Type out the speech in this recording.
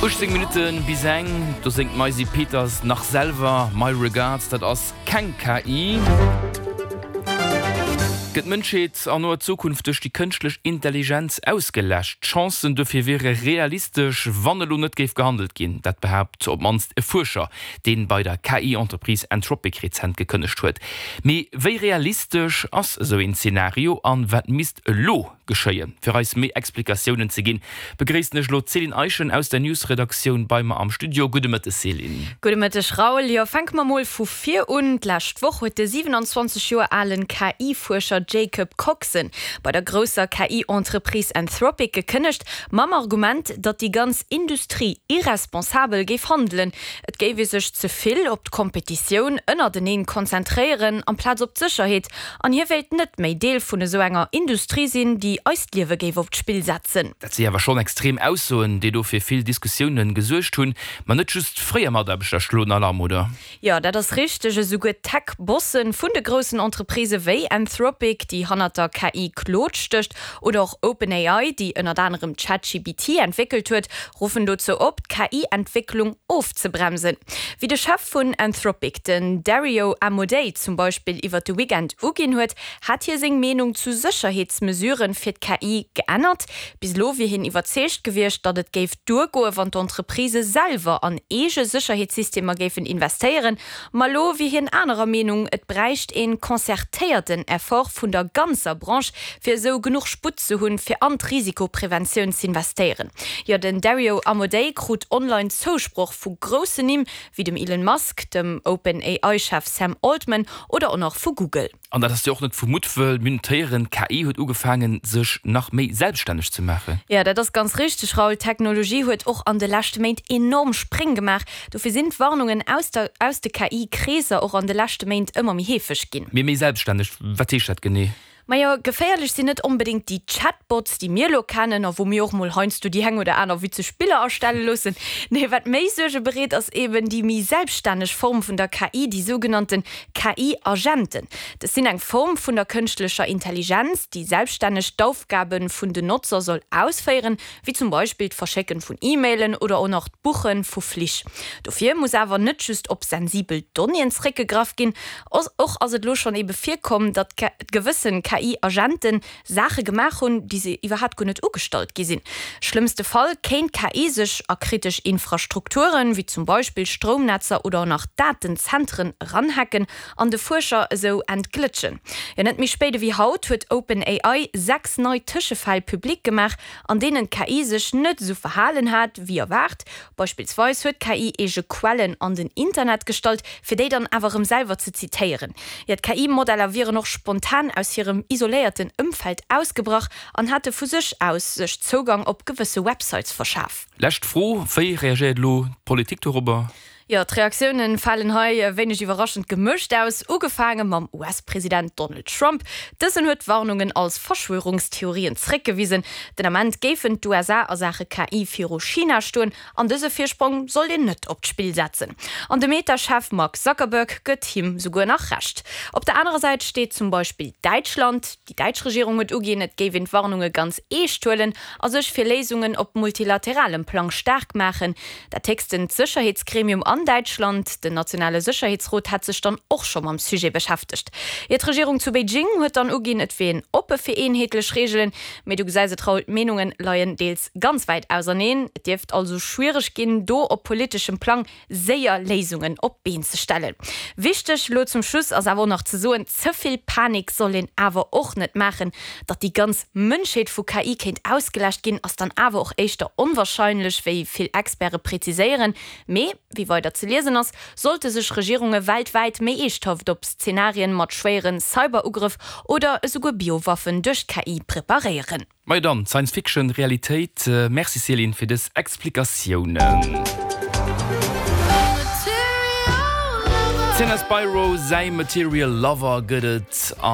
18 Minutte bis eng, do séngt d'Maisie Peters nach selwer My Regards, dat ass keng KI. Gëtt d'Mënschheet an noer Zukunft duerch déi kënschtlech Intelligenz ausgeläscht? D'Chancen dofir wiere realistesch, wann elo net géif gehandelt ginn. Dat behaapt op d'mannst e Fuerscher, dee bei der KI-Entreprise Anthropic rezent gekënnegt huet. Mee wéi realistesch ass esou een Zenario an wat misst elo geschéien? Fir eis méi Explikatiounen ze ginn, begréissen ech elo d'Céline Eischen aus der News-Redaktioun bei mer am Studio. Gudde Mëtteg Céline. Gudde Mëtteg Raoul. Jo, fänke mer mol vu vir un. D'lescht Woch huet de 27 Joer alen KI-Fuerscher Jacob Coxon bei der grousser KI-Entreprise Anthropic gekënnegt, mam Argument, datt déi ganz Industrie irresponsabel géif handelen. Et géif ee sech ze vill op d'Kompetitioun ënnerteneen konzentréieren, amplaz op d'Sécherheet. An hie wéilt net méi Deel vun esou enger Industrie sinn, déi eist Liewe géif op d'Spill setzen. Dat si awer schonn extrem Aussoen, déi do fir vill Diskussioune gesuergt hunn. Ma net just fréier Mataarbechter schloen Alarm, oder? Jo, dat ass richteg. Esouguer d'Tech-Bosse vun de groussen Entreprisë wéi Anthropic, déi hannert der KI Claude stécht, oder och OpenAI, déi ënnert anerem ChatGPT entwéckelt huet, ruffen dozou op, d'KI-Entwécklung ofzebremsen. Wéi de Chef vun Anthropic, den Dario Amodei, zum Beispill iwwer de Weekend uginn huet, hat hie seng Meenung zu Sécherheetsmesuren fir d'KI geännert. Bis elo wier hien iwwerzeegt gewiescht, datt et géif duergoe wann d'Entreprisë selwer an eege Sécherheetssystemer géifen investéieren. Ma elo wier hien anerer Meenung, et bräicht een concertéierten Effort vun der ganzer Branche, fir esou genuch Sputt ze hunn, fir an d'Risikopreventioun z'investéieren. Jo, den Dario Amodei krut online Zousproch vu groussen Nimm wéi dem Elon Musk, dem OpenAI-Chef Sam Altman oder och nach vu Google. An dat ass jo och net vu Muttwëll. Mir hunn et héieren, d'KI huet ugefaangen, sech nach méi selbststänneg ze maachen. Jo, dat ass ganz richteg, Raoul. D'Technologie huet och an de leschte Méint enorm Spréng gemaach. Dofir sinn d'Warnungen aus der aus de KI-Kreesser och an de leschte Méint ëmmer méi heefeg ginn. Mee méi selbststänneg, wat heescht dat genee? Majo, geféierlech sinn net onbedéngt déi Chatbots, déi mir elo kennen a wou mir och mol heiansdo déi eng oder aner witzeg Biller erstelle loossen. Nee, wat méi Suerge bereet, ass eben déi méi selbststänneg Form vun der KI, déi sougenannte KI-Agenten. Dës sinn eng Form vun der kënschtlecher Intelligenz, déi selbststänneg d'Aufgabe vun den Notzer soll ausféieren, wéi zum Beispill d'Verschécken vun E-Mailen oder och nach d'Buche vu Flich. Dofir muss awer net just op sensibel Donnéeën zréckgegraff ginn. Och ass et elo schonn ebe virkomm, datt gewëssen KI-Agenten Saache gemaach hunn, déi se iwwerhaapt guer net ugestallt gi sinn. Schlëmmste Fall kéint d'KI sech a kritesch Infrastrukturen, wéi zum Beispill Stroumnetzer oder och nach Datenzentren eranhacken an de Fuerscher esou entglëtschen. Jo, net méi spéit ewéi haut huet OpenAI 6 nei Tëschefäll public gemaach, an deenen d'KI sech net esou verhalen hat, wéi erwaart. Beispillsweis huet d'KI eege Quellen an den Internet gestallt, fir déi dann awer erëm selwer ze zitéieren. Jo, d'KI-Modeller wieren och spontan aus hirem isoléierten Ëmfeld ausgebrach an hate vu sech aus sech Zougang op gewësse Websites verschaf. Lescht Fro, Wéi reagéiert elo d'Politik dorobber? Jo, d'Reaktioune falen hei wéineg iwwerraschend gemëscht aus. Ugefaange mam US-President Donald Trump. Dësen huet d'Warnungen als Verschwörungstheorien zréckgewisen. Den Ament géifen d'USA a Saache KI viru China stoen an dëse Virsprong sollt een net op d'Spill setzen. An de Meta-Chef Mark Zuckerberg gëtt him souguer nach Recht. Op der anerer Säit steet zum Beispill Däitschland. Déi däitsch Regierung huet uginn, et géif een d'Warnunge ganz eescht huelen a sech fir Léisungen op multilateralem Plang staark maachen. Dat héchstent Sécherheetsgremium an Däitschland, den nationale Sécherheetsrot, hätt sech dann och scho mam Sujet beschäftegt. Ier d'Regierung zu Beijing huet dann uginn, et wier een oppe fir eenheetlech Reegelen. Mee du gesäis et Raoul, d'Meenunge leien deels ganz wäit auserneen. Et dierft also schwiereg ginn, do op politeschem Plang séier Léisungen op d'Been ze stellen. Wichteg elo zum Schluss ass awer och nach ze soen, ze vill Panik soll een awer och net maachen. Datt déi ganz Mënschheet vu KI kéint ausgeläscht ginn, ass dann awer och éischter onwarscheinlech, wéi vill Experte preziséieren. Mee, wéi weider ze liesen ass, sollte sech Regierunge weltwäit méi eeschthaft op Szenarien mat schwéiere Cyberugrëff oder esouguer Biowaffen duerch d'KI preparéieren. Majo dann, Science Fiction, Realitéit. Merci Céline fir dës Explikatiounen. D'Sienna Spiro säi Material Lover gëtt et an.